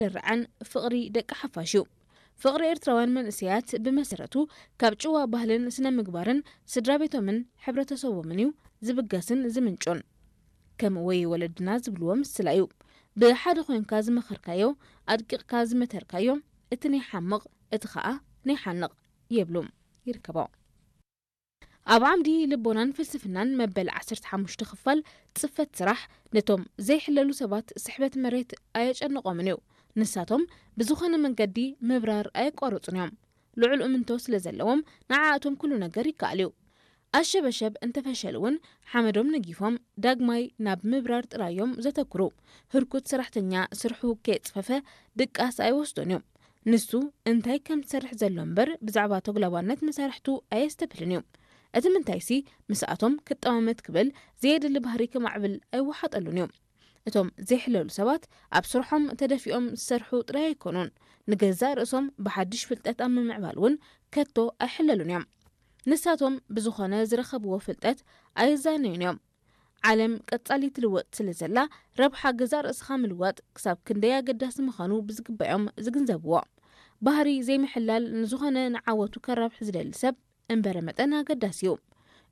ዝርዓን ፍቕሪ ደቂ ሓፋሽ እዩ። ፍቕሪ ኤርትራውያን መንእሰያት ብመሰረቱ ካብ ጭዋ ባህልን ስነ ምግባርን ስድራ ቤቶምን ሕብረተሰቦምን እዩ ዝብገስን ዝምንጩን። ከም ወይ ወለድና ዝብልዎ ምስላ እዩ። ብሓደ ኮይንካ ዝመኸርካዮ፣ ኣድቂቕካ ዝመተርካዮ፣ እቲ ናይ ሓምቕ፣ እቲ ኸኣ ናይ ሓንቕ የብሉ ይርከቦ። ኣብ ዓምዲ ልቦናን ፍልስፍናን መበል ዓሰርተ ሓሙሽተ ክፋል ጽፈት ስራሕ ነቶም ዘይሕለሉ ሰባት ስሕበት መሬት ኣየጨንቖምን እዩ። ንሳቶም ብዝኾነ መንገዲ ምብራር ኣየቋርጹን እዮም። ልዑል እምንቶ ስለ ዘለዎም ንዓኣቶም ኩሉ ነገር ይከኣል እዩ። ኣሸበሸብ እንተፈሸሉ እውን ሓመዶም ነጊፎም ዳግማይ ናብ ምብራር ጥራይ እዮም ዘተኩሩ። ህርኩት ሰራሕተኛ ስርሑ ከየጽፈፈ ድቃስ ኣይወስዶን እዩ። ንሱ እንታይ ከም ዝሰርሕ ዘሎ እምበር ብዛዕባ ተጉላባነት መሳርሕቱ ኣየስተብህልን እዩ። እቲ ምንታይሲ ምስኣቶም ክጠማመት ክብል ዘየድሊ ባህሪ ከማዕብል ኣይወሓጠሉን እዩ። እቶም ዘይሕለሉ ሰባት ኣብ ስርሖም ተደፊኦም ዝሰርሑ ጥራይ ኣይኮኑን፣ ንገዛእ ርእሶም ብሓድሽ ፍልጠት ኣብ ምምዕባል እውን ከቶ ኣይሕለሉን እዮም። ንሳቶም ብዝኾነ ዝረኸብዎ ፍልጠት ኣይዛነዩን እዮም። ዓለም ቀጻሊ ትልወጥ ስለ ዘላ፣ ረብሓ ገዛእ ርእስኻ ምልዋጥ ክሳብ ክንደይ ኣገዳሲ ምዃኑ ብዝግባዮም ዝግንዘብዎ። ባህሪ ዘይምሕላል ንዝኾነ ንዓወቱ ከራብሕ ዝደሊ ሰብ እምበረ መጠን ኣገዳሲ እዩ።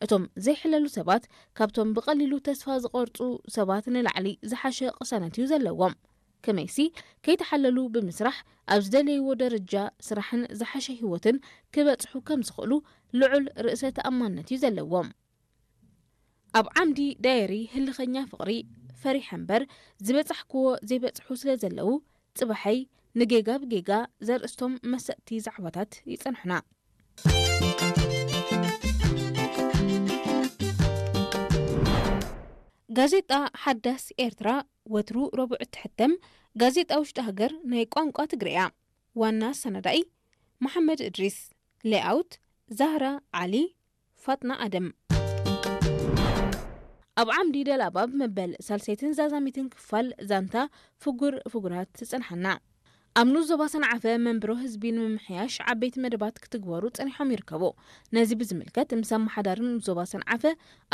እቶም ዘይሕለሉ ሰባት ካብቶም ብቐሊሉ ተስፋ ዝቖርጹ ሰባት ንላዕሊ ዝሓሸ ቅሳነት እዩ ዘለዎም። ከመይሲ፣ ከይተሓለሉ ብምስራሕ ኣብ ዝደለይዎ ደረጃ ስራሕን ዝሓሸ ህይወትን ክበጽሑ ከም ዝኽእሉ ልዑል ርእሰ ተኣማንነት እዩ ዘለዎም። ኣብ ዓምዲ ዳየሪ ህልኸኛ ፍቕሪ ፈሪሐ እምበር ዝበጻሕክዎ ዘይበጽሑ ስለ ዘለዉ፣ ጽባሐይ ንጌጋ ብጌጋ ዘርእስቶም መሰጥቲ ዛዕባታት ይጸንሑና። ጋዜጣ ሓዳስ ኤርትራ ወትሩ ረቡዕ እትሕተም ጋዜጣ ውሽጢ ሃገር ናይ ቋንቋ ትግርያ። ዋና ኣሰናዳኢ መሓመድ እድሪስ። ሌኣውት ዛህራ ዓሊ፣ ፋጥና ኣደም። ኣብ ዓምዲ ደላባብ መበል ሳልሰይትን ዛዛሚትን ክፋል ዛንታ ፍጉር ፍጉራት ትጸንሓና። ኣብ ንኡስ ዞባ ሰንዓፈ መንብሮ ህዝቢ ንምምሕያሽ ዓበይቲ መደባት ክትግበሩ ጸኒሖም ይርከቡ። ነዚ ብዝምልከት ምስ ኣመሓዳሪ ንኡስ ዞባ ሰንዓፈ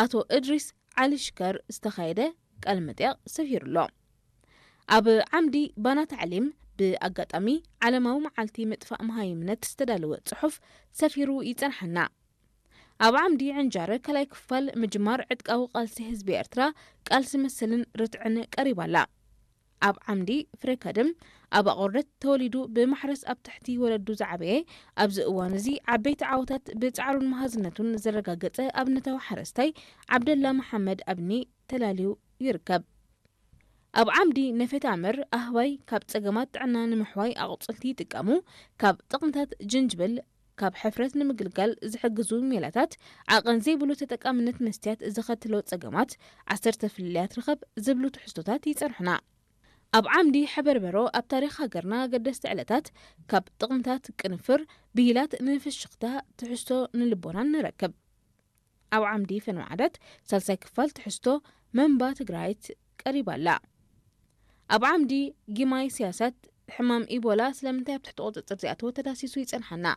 ኣቶ እድሪስ ዓሊ ሽከር ዝተኻየደ ቃለ መጠይቕ ሰፊሩ ኣሎ። ኣብ ዓምዲ ባና ታዕሊም ብኣጋጣሚ ዓለማዊ መዓልቲ ምጥፋእ መሃይምነት ዝተዳለወ ጽሑፍ ሰፊሩ ይጸንሓና። ኣብ ዓምዲ ዕንጃረ ካልኣይ ክፋል ምጅማር ዕጥቃዊ ቃልሲ ህዝቢ ኤርትራ ቃልሲ መሰልን ርትዕን ቀሪባ ኣላ። ኣብ ዓምዲ ፍሬ ከድም ኣብ ኣቑርደት ተወሊዱ ብማሕረስ ኣብ ትሕቲ ወለዱ ዝዓበየ፣ ኣብዚ እዋን እዚ ዓበይቲ ዓወታት ብጻዕሩን መሃዝነቱን ዘረጋገጸ ኣብነታዊ ሓረስታይ ዓብደላ መሓመድ ኣብኒ ተላልዩ ይርከብ። ኣብ ዓምዲ ነፌት ኣምር ኣህባይ ካብ ጸገማት ጥዕና ንምሕዋይ ኣቑጽልቲ ይጥቀሙ። ካብ ጥቕምታት ጅንጅብል ካብ ሕፍረት ንምግልጋል ዝሕግዙ ሜላታት፣ ዓቐን ዘይብሉ ተጠቃምነት መስትያት ዘኸትሎ ጸገማት፣ ዓሰርተ ፍልልያት ርኸብ ዝብሉ ትሕዝቶታት ይጸንሑና። ኣብ ዓምዲ ሕበርበሮ ኣብ ታሪኽ ሃገርና ኣገደስቲ ዕለታት፣ ካብ ጥቕምታት ቅንፍር ብሂላት ንፍሽኽታ ትሕዝቶ ንልቦናን ንረክብ። ኣብ ዓምዲ ፈነወ ዓደት ሳልሳይ ክፋል ትሕዝቶ መንባ ትግራይት ቀሪባ ኣላ። ኣብ ዓምዲ ጊማይ ስያሳት ሕማም ኢቦላ ስለምንታይ ኣብ ትሕቲ ቁጽጽር ዝኣተወ ተዳሲሱ ይጸንሓና።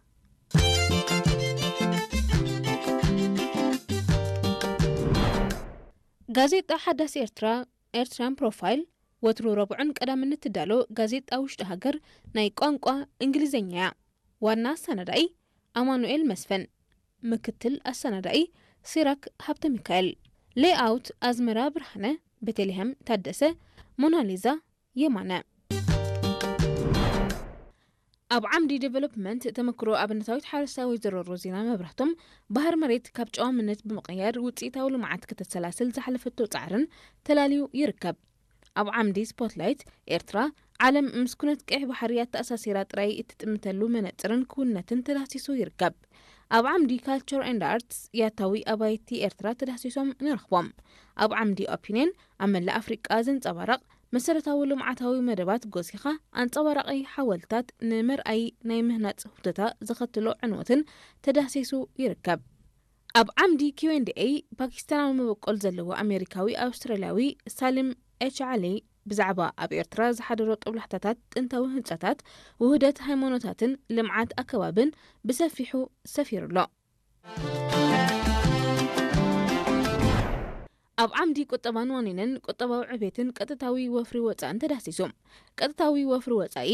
ጋዜጣ ሓዳስ ኤርትራ ኤርትራን ፕሮፋይል ወትሩ ረቡዕን ቀዳምን እትዳሎ ጋዜጣ ውሽጢ ሃገር ናይ ቋንቋ እንግሊዝኛ እያ። ዋና ኣሰናዳኢ ኣማኑኤል መስፍን፣ ምክትል ኣሰናዳኢ ሲራክ ሃብተ ሚካኤል፣ ሌኣውት ኣዝመራ ብርሃነ፣ ቤተልሔም ታደሰ፣ ሞናሊዛ የማነ። ኣብ ዓምዲ ዴቨሎፕመንት ተመክሮ ኣብነታዊት ሓረስታይ ወይዘሮ ሮዚና መብራህቶም፣ ባህር መሬት ካብ ጨዋምነት ብምቕያር ውፅኢታዊ ልምዓት ከተሰላስል ዝሓለፈቶ ፃዕርን ተላልዩ ይርከብ። ኣብ ዓምዲ ስፖትላይት ኤርትራ፣ ዓለም ምስ ኩነት ቀይሕ ባሕሪ ኣተኣሳሲራ ጥራይ እትጥምተሉ መነፅርን ክውንነትን ተዳህሲሱ ይርከብ። ኣብ ዓምዲ ካልቸር ኤንድ ኣርትስ ያታዊ ኣባይቲ ኤርትራ ተዳህሲሶም ንረኽቦም። ኣብ ዓምዲ ኦፒንየን ኣብ መላእ ኣፍሪቃ ዘንጸባረቕ መሰረታዊ ልምዓታዊ መደባት ጎሲኻ ኣንጸባራቒ ሓወልታት ንመርኣዪ ናይ ምህናጽ ሁተታ ዘኸትሎ ዕንወትን ተዳህሲሱ ይርከብ። ኣብ ዓምዲ ኪው ኤንድ ኤይ ፓኪስታናዊ መበቆል ዘለዎ ኣሜሪካዊ ኣውስትራልያዊ ሳሊም ኤች ዓሊ ብዛዕባ ኣብ ኤርትራ ዝሓደሮ ጦብላሕታታት ጥንታዊ ህንጻታት፣ ውህደት ሃይማኖታትን ልምዓት ኣከባብን ብሰፊሑ ሰፊሩ ኣሎ። ኣብ ዓምዲ ቁጠባን ዋኒንን ቁጠባዊ ዕቤትን ቀጥታዊ ወፍሪ ወፃእን ተዳሲሱ። ቀጥታዊ ወፍሪ ወፃኢ